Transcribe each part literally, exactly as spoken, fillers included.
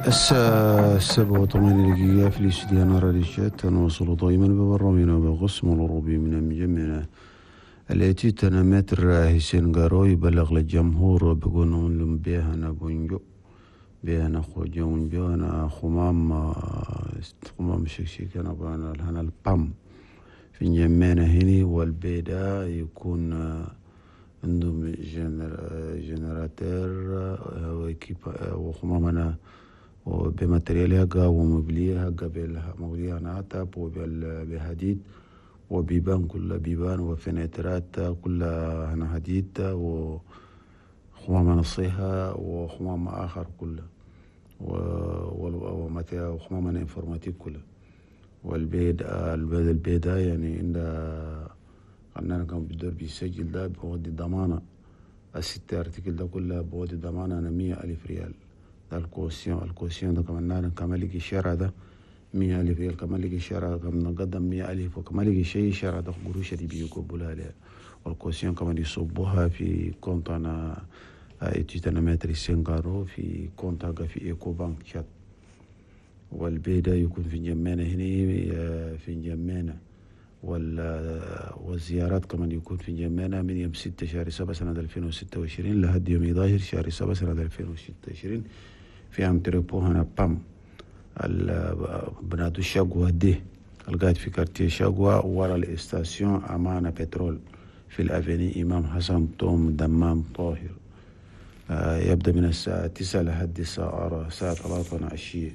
الساعة سبعة وثمانية دقيقة في الاستديو راديو تشاد. نواصل دائما ببرنامجنا بالقسم الأوروبي من مجمعنا التي تنمتر حسين غارو يبلغ للجمهور بقولون بيهنا بونجو بيهنا خوجون بيهنا خمام خمام شكشك أنا بأنا هنا البام في جمعنا هني والبيدا يكون عندهم générateur وخمامنا وب matériel هكا و mobilier هكا mobilier نعتب وبحديد وبيبان كلها بيبان وفنترات كلها هنا حديد وخمام نصيحة وخمام آخر كله وخمام informatique كله. والبيد البيد البيدا يعني عند قلنا كان بدور بيسجل ده بودي ضمانة الستة articles ده كلها بودي ضمانة أنا مية ألف ريال. ده ال caution ال caution ده كمان كمان لقي الشارع ده مية ألف ريال، كمان لقي الشارع كمان نقدم مية ألف، وكمان لقي شيء الشارع ده قروش دي بيقبلها لها. وال caution كمان يصبوها في compte أنا étude maître سينغارو في compte في إيكو بانك شات. والبيدا يكون في جمانة هنا في جمانة، والزيارات كمان يكون في جمانة من يوم ستة شهر سبعة سنة ألفين وستة وعشرين لحد يوم إحدى عشر شهر سبعة سنة ألفين وستة وعشرين في entrepôt هنا بام بنادو شاقوة دي القاعد في quartier شاقوة ورا ال station أمانة بترول في ال avenue إمام حسن توم دمام طاهر. يبدأ من الساعة تسعة لحد الساعة الساعة ثلاثة عشية.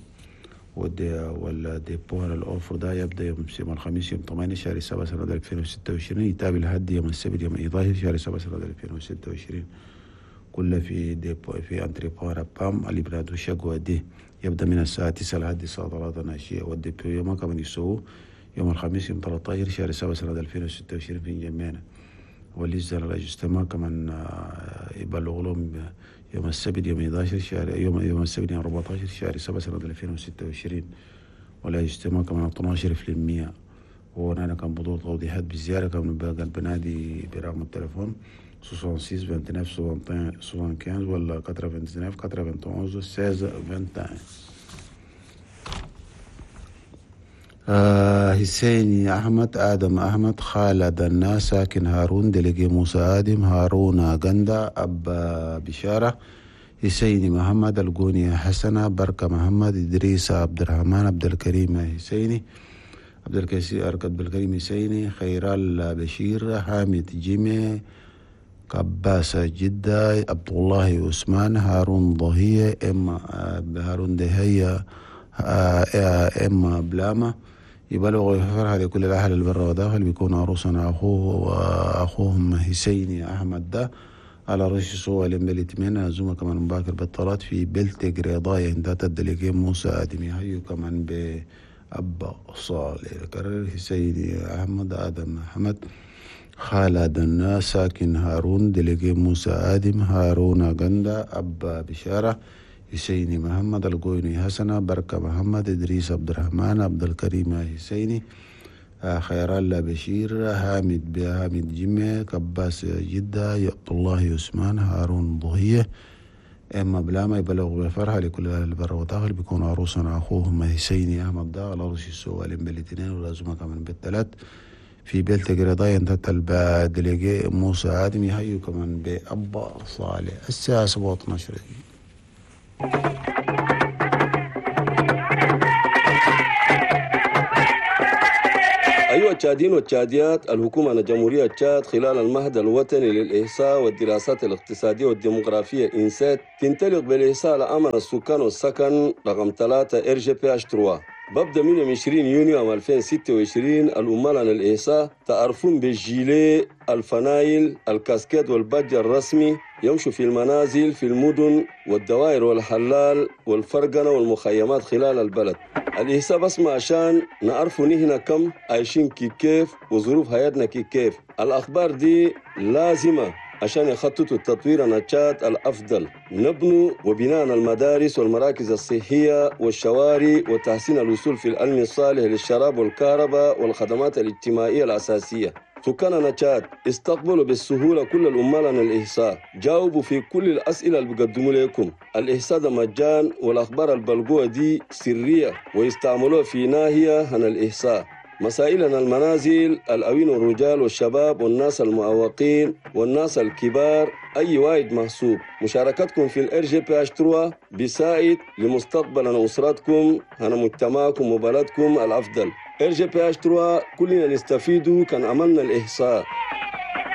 وال dépôt ال offre ده يبدا يوم الخميس يوم ثمانية شهر سبعة سنة ألفين وستة وعشرين يتابع لحد يوم السبت يوم إحدى عشر شهر سبعة سنة ألفين وستة وعشرين كله في dépôt في entrepôt بام اللي بلادو شقوة دي يبدا من الساعة تسعة لحد الساعة ثلاثة عشية. وال dépôt يوم كمان يسووه يوم الخميس يوم ثلاثة عشر شهر سبعة سنة ألفين وستة وعشرين في جمعنا. واللجنة الاجتماع كمان يبلغ لهم يوم السبت يوم إحدى عشر شهر يوم يوم السبت يوم أربعة عشر شهر سبعة سنة ألفين وستة وعشرين. والاجتماع كمان اثنا عشر في المية. وأنا كان بدور توضيحات بالزيارة كمان بقى بنادي برقم التليفون ستة وستين تسعة وعشرين خمسة وخمسين ولا تسعة وتسعين واحد وتسعة ستة واحد. آه حسيني أحمد آدم أحمد خالد الناس ساكن هارون délégué موسى آدم هارون غندا أب بشارة حسيني محمد القوني حسنة بركة محمد إدريس عبد الرحمن عبد الكريم حسيني عبد الكريم عبد الكريم حسيني خيرال بشير حامد جيمي كباس جدة عبد الله عثمان هارون ضهية إم هارون دهية إم بلامة. يبلغ فرحة لكل الأهل البر وداخل بيكون عروسنا أخوه وأخوهم حسيني أحمد ده على رئيس سوى لمبلتمين زوما كمان مباكر بالطلات في بلتك رضايا عند ال délégué موسى آدمي هيو كمان بأبا صالح. كرر حسيني أحمد آدم أحمد خالد الناس ساكن هارون délégué موسى آدم هارون غندا أبا بشارة حسيني محمد القويني حسنة بركة محمد إدريس عبد الرحمن عبد الكريم حسيني خير الله بشير حامد حامد جمع كباس جدة عبد الله عثمان هارون ضهية إما بلاما يبلغ بفرحة لكل أهل البر والداخل بيكون عروسنا أخوهم حسيني أحمد دا على رأس السؤال بالاثنين ولازمة كمان بالثلاث في بيلتك رضايا انت ال délégué موسى آدم يهيو كمان بأبا صالح. الساعة سبعة عشر دقيقة. أيها التشاديين والتشاديات، الحكومة الجمهورية تشاد خلال المهد الوطني للإحصاء والدراسات الاقتصادية والديموغرافية إنسات تنطلق بالإحصاء لأمن السكان والسكن رقم ثلاثة RGPH ثلاثة. ببدأ من يوم عشرين يونيو عام ألفين وستة وعشرين العمال عن الإحصاء تعرفون بالجيلي الفنايل الكاسكيت وال badge الرسمي يمشوا في المنازل في المدن والدوائر والحلال والفرقنة والمخيمات خلال البلد. الإحصاء بس ما عشان نعرفوا نحن كم عايشين كي كيف وظروف حياتنا كي كيف. الأخبار دي لازمة عشان يخططوا التطوير النشاط الأفضل، نبنوا وبناء المدارس والمراكز الصحية والشوارع وتحسين الوصول في العلم الصالح للشراب والكهرباء والخدمات الاجتماعية الأساسية. سكاننا تشاد استقبلوا بالسهولة كل العمال عن الإحصاء، جاوبوا في كل الأسئلة اللي بيقدموا لكم. الإحصاء ده مجان، والأخبار البلقوة دي سرية ويستعملوها في ناحية عن الإحصاء. مسائلنا المنازل، الأوين والرجال والشباب والناس المعوقين والناس الكبار، أي واحد محسوب. مشاركتكم في ال RGPH trois بيساعد لمستقبل أسرتكم، هنا مجتمعكم وبلدكم الأفضل. RGPH trois كلنا نستفيد كان عملنا الإحصاء.